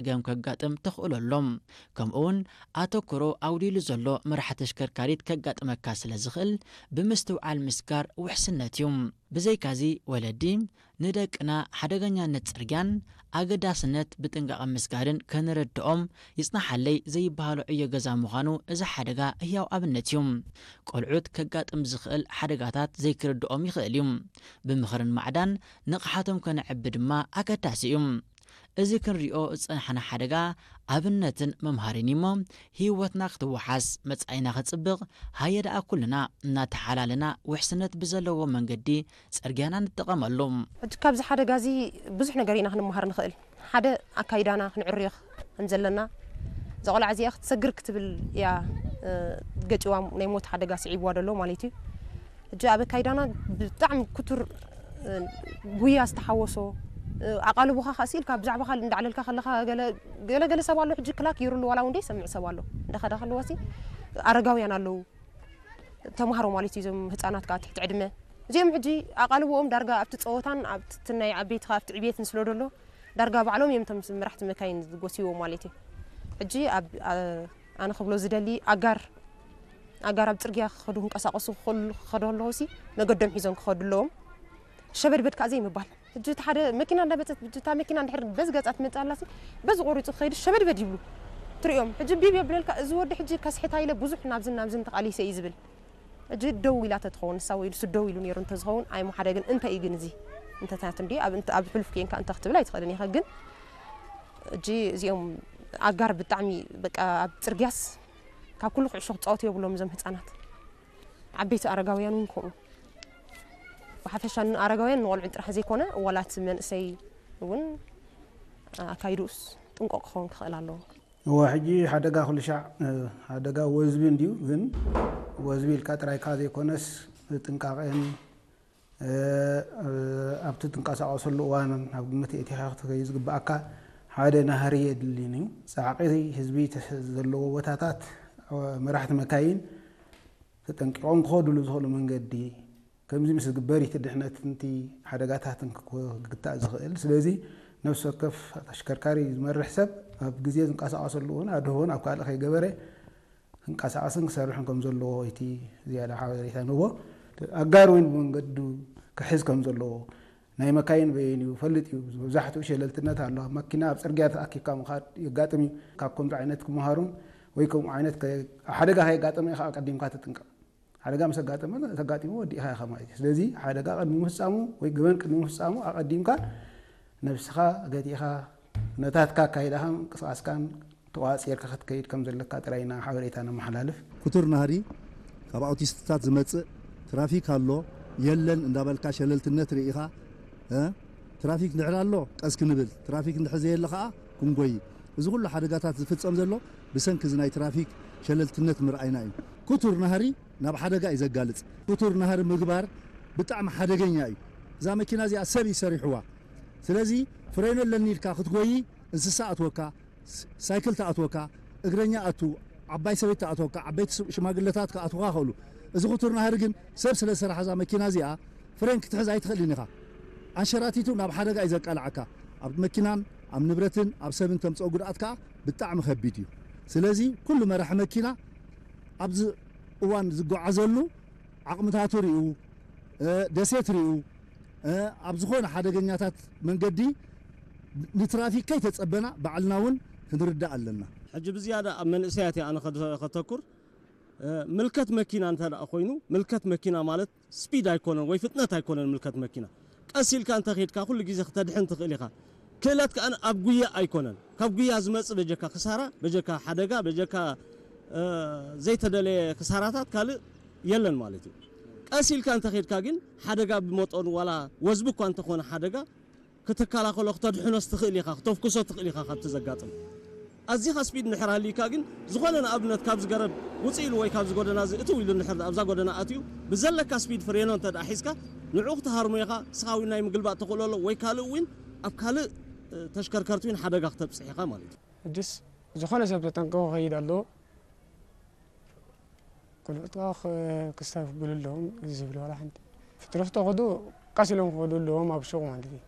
ጸገም ከጋጥም ተኽእሎ ኣሎ። ከምኡውን ኣተኩሮ ኣውዲሉ ዘሎ መራሒ ተሽከርካሪት ከጋጥመካ ስለ ዝኽእል ብምስትውዓል ምስጋር ውሕስነት እዩ። ብዘይካዚ ወለዲ ንደቅና ሓደገኛነት ጽርግያን ኣገዳስነት ብጥንቃቐ ምስጋርን ከነረድኦም ይጽናሓለይ ዘይበሃሎ ዕዮ ገዛ ምዃኑ እዚ ሓደጋ ህያው ኣብነት እዩ። ቆልዑት ከጋጥም ዝኽእል ሓደጋታት ዘይክርድኦም ይኽእል እዩ። ብምኽርን ማዕዳን ንቕሓቶም ከነዕቢ ድማ ኣገዳሲ እዩ። እዚ ክንሪኦ ዝጸናሕና ሓደጋ ኣብነትን መምሃሪን እዩሞ፣ ህይወትና ክትወሓስ፣ መጻኢና ክጽብቕ፣ ሃየ ደኣ ኩልና እናተሓላለና ውሕስነት ብዘለዎ መንገዲ ጽርግያና ንጠቐመሉ። ሕጂ ካብዚ ሓደጋ እዚ ብዙሕ ነገር ኢና ክንመሃር ንኽእል። ሓደ ኣካይዳና ክንዕርዮ ከም ዘለና፣ እዛ ቆልዓ እዚኣ ክትሰግር ክትብል እያ፣ እ፣ ገጭዋ ናይ ሞት ሓደጋ ስዒብዋ ዘሎ ማለት እዩ። ሕጂ ኣብ ኣካይዳና ብጣዕሚ ክቱር፣ እ፣ ጉያ ዝተሓወሶ፣ እ፣ ኣቓልቦኻ ከኣ ስኢልካ ብዛዕባ ካልእ እንዳዕለልካ ከለኻ ገለ፣ ገለ፣ ገለ ሰብ ኣሎ ሕጂ ክላክ ይርሉ ዋላ እውን ዘይሰምዕ ሰብ ኣሎ። እንዳኸዳ ከለዋሲ ኣረጋውያን ኣለዉ። ተምሃሮ ማለት እዩ፣ እዞም ህጻናት ከኣ ትሕቲ ዕድመ። እዚኦም ሕጂ ኣቓልቦኦም ዳርጋ ኣብቲ ጸወታን ኣብቲ ናይ ዓበይቲ ከኣ ኣብቲ ዕብየትን ስለ ደሎ፣ ዳርጋ ባዕሎም እዮም እቶም መራሕቲ መካይን ዝጎስይዎ ማለት እዩ። ሕጂ ኣብ፣ ኣ-፣ ኣነ ክብሎ ዝደሊ ኣጋር፣ ኣጋር ኣብ ጽርግያ ክኸዱ ክንቀሳቀሱ ክኸዱ፣ ክኸዱ ኣለዉ ሲ መገዶም ሒዞም ክኸዱ ኣለዎም። ሸበድበድ ከኣ ዘይምባል። ሕጂ እቲ ሓደ መኪና እንዳመጸት፣ ሕጂ እታ መኪና እንድሕር በዚ ገጻ ትመጽእ ኣላሲ፣ በዚ ቆሪጹ ክኸይድ ሸበድበድ ይብሉ። ትርእዮም። ሕጂ ቢብ የብለልካ፣ እዚ ወዲ ሕጂ ከስሕታ ኢለ ብዙሕ ናብዝን ናብዝን ተቓሊሰ እዩ ዝብል። ሕጂ ደው ኢላ ተትኸውን ንሳ ወይ ንሱ ደው ኢሉ ነይሩ እንተዝኸውን ኣይምሓደግን። እንታይ እዩ ግን እዚ? እንተታት እንዲ ኣብ፣ እንተ ኣብ ሕሉፍ ኬንካ እንተ ክትብል ኣይትኽእልን ኢኻ። ግን ሕጂ እዚኦም ኣጋር ብጣዕሚ በቃ ኣብ ጽርግያስ ካብ ኩሉ ኩዕሾ ክጻወቱ የብሎም እዞም ህጻናት። ዓበይቲ ኣረጋውያን እውን ከምኡ። ብሓፈሻ ንኣረጋውያን ንቆልዑ ጥራሕ ዘይኮነ ዋላ እቲ መንእሰይ እውን ኣካይድኡስ ጥንቁቕ ክኸውን ክኽእል ኣለዎ። እወ፣ ሕጂ ሓደጋ ኩሉ ሻዕ፣ እ፣ ሓደጋ ወዝቢ እንድዩ፣ ግን ወዝቢ ኢልካ ጥራይካ ዘይኮነስ ጥንቃቄን፣ እ፣ እ፣ ኣብቲ ትንቀሳቐሰሉ እዋን ኣብ ግምት የእቲኻ ክትከይድ ዝግብኣካ ሓደ ናህሪ የድልን እዩ። ጻዕቂ ህዝቢ ተስ-፣ ዘለዎ ቦታታት፣ እ፣ መራሕቲ መካይን ተጠንቂቖም ክኸዱሉ ዝኽእሉ መንገዲ ከምዚ ምስ ዝግበር እቲ ድሕነትን እቲ ሓደጋታትን ክኮ-፣ ክግታእ ዝኽእል። ስለዚ ነፍሲ ወከፍ ተሽከርካሪ ዝመርሕ ሰብ ኣብ ግዜ ዝንቀሳቐሰሉ እውን ኣድህቦን ኣብ ካልእ ከይገበረ ክንቀሳቐስን ክሰርሕን ከም ዘለዎ እቲ ዝያዳ ሓበሬታ ንህቦ። ኣጋር እውን ብመንገዱ ክሕዝ ከም ዘለዎ ናይ መካይን በየን እዩ ፈልጥ እዩ። መብዛሕትኡ ሸለልትነት ኣሎ። ኣብ መኪና ኣብ ጽርግያ ተኣኪብካ ምኻድ የጋጥም እዩ። ካብ ከምዚ ዓይነት ክመሃሩን ወይ ከምኡ ዓይነት ከ-፣ ሓደጋ ከየጋጠመ እዩ ከዓ ኣቀዲምካ ትጥንቀቕ። ሓደጋ ምስ ኣጋጠመ፣ ተጋጢሙ ወዲእኻ ኢኻ ማለት እዩ። ስለዚ ሓደጋ ቅድሚ ምፍጻሙ ወይ ገበን ቅድሚ ምፍጻሙ ኣቐዲምካ ነብስኻ ገቲእኻ፣ ነታትካ ኣካይዳኻን ምንቅስቓስካን ተቋጺርካ ክትከይድ ከም ዘለካ ጥራይ ኢና ሓበሬታ ነመሓላልፍ። ክቱር ናህሪ ካብ ኣውቲስትታት ዝመጽእ ትራፊክ ኣሎ የለን እንዳበልካ ሸለልትነት ርኢኻ፣ እ? ትራፊክ እንድሕር ኣሎ ቀስ ክንብል፣ ትራፊክ እንድሕር ዘየለ ኸኣ ክንጎይ። እዚ ኩሉ ሓደጋታት ዝፍጸም ዘሎ ብሰንኪ እዚ ናይ ትራፊክ ሸለልትነት ምርኣይና እዩ። ክቱር ናህሪ ናብ ሓደጋ እዩ ዘጋልጽ። ክቱር ናህሪ ምግባር ብጣዕሚ ሓደገኛ እዩ። እዛ መኪና እዚኣ ሰብ እዩ ሰሪሕዋ። ስለዚ ፍሬኖ ኣለኒ ኢልካ ክትጎይ እንስሳ ኣትወካ፣ ስ-፣ ሳይክል ትኣትወካ፣ እግረኛ ኣቱ፣ ዓባይ ሰበይቲ ትኣትወካ፣ ዓበይቲ ስ-፣ ሽማግለታት ክኣትውካ ይኽእሉ። እዚ ክቱር ናህሪ ግን ሰብ ስለ ዝሰረሓ እዛ መኪና እዚኣ ፍሬን ክትሕዝ ኣይትኽእልን ኢኻ። ኣንሸራቲቱ ናብ ሓደጋ እዩ ዘቃልዓካ። ኣብ መኪናን ኣብ ንብረትን ኣብ ሰብን ተምጽኦ ጉድኣት ከኣ ብጣዕሚ ከቢድ እዩ። ስለዚ ኩሉ መራሒ መኪና ኣብዚ እዋን ዝጓዓዘሉ ዓቕምታቱ ሪኡ፣ እ፣ ደሴት ሪኡ፣ እ፣ ኣብ ዝኾነ ሓደገኛታት መንገዲ ንትራፊክ ከይተጸበና ባዕልና እውን ክንርዳእ ኣለና። ሕጂ ብዝያዳ ኣብ መንእሰያት እየ ኣነ ከድ-፣ ከተኩር። እ፣ ምልከት መኪና እንተ ደኣ ኮይኑ፣ ምልከት መኪና ማለት ስፒድ ኣይኮነን ወይ ፍጥነት ኣይኮነን ምልከት መኪና። ቀስ ኢልካ እንተ ኸይድካ ኩሉ ግዜ ክተድሕን ትኽእል ኢኻ። ክእለት ከኣ ኣብ ጉያ ኣይኮነን። ካብ ጉያ ዝመጽእ በጀካ ክሳራ፣ በጀካ ሓደጋ፣ በጀካ፣ እ፣ ዘይተደለየ ክሳራታት ካልእ የለን ማለት እዩ። ቀስ ኢልካ እንተ ኸይድካ ግን ሓደጋ ብመጠኑ ዋላ ወዝቢ እኳ እንተኾነ ሓደጋ ክትከላኸሎ፣ ክተድሕኖስ ትኽእል ኢኻ፣ ክተፍኩሶ ትኽእል ኢኻ ካብቲ ዘጋጥም። ኣዚኻ ስፒድ እንድሕር ሃልዩካ ግን፣ ዝኾነ ንኣብነት ካብዚ ገረብ ውፅእ ኢሉ ወይ ካብዚ ጎደና እዚ እትው ኢሉ እንድሕር ኣብዛ ጎደና ኣትዩ፣ ብዘለካ ስፒድ ፍሬኖ እንተ ደኣ ሒዝካ፣ ንዕኡ ክትሃርሞ ኢኻ፣ ንስኻ እውን ናይ ምግልባጥ ተኽእሎ ኣሎ፣ ወይ ካልእ እውን ኣብ ካልእ፣ እ፣ ተሽከርከርቲ እውን ሓደጋ ክተብፅሕ ኢኻ ማለት እዩ። ሕጅስ ዝኾነ ሰብ ተጠንቂቑ ክኸይድ ኣለዎ። ቆልዑት ከዓ ክ-፣ ክስተብህሉ ኣለዎም ዝብል ዋላ ሓንቲ። ፍጥረት ተኸዱ ቀስ ኢሎም ክኸዱ ኣለዎም ኣብ ሹቕ ማለት እዩ።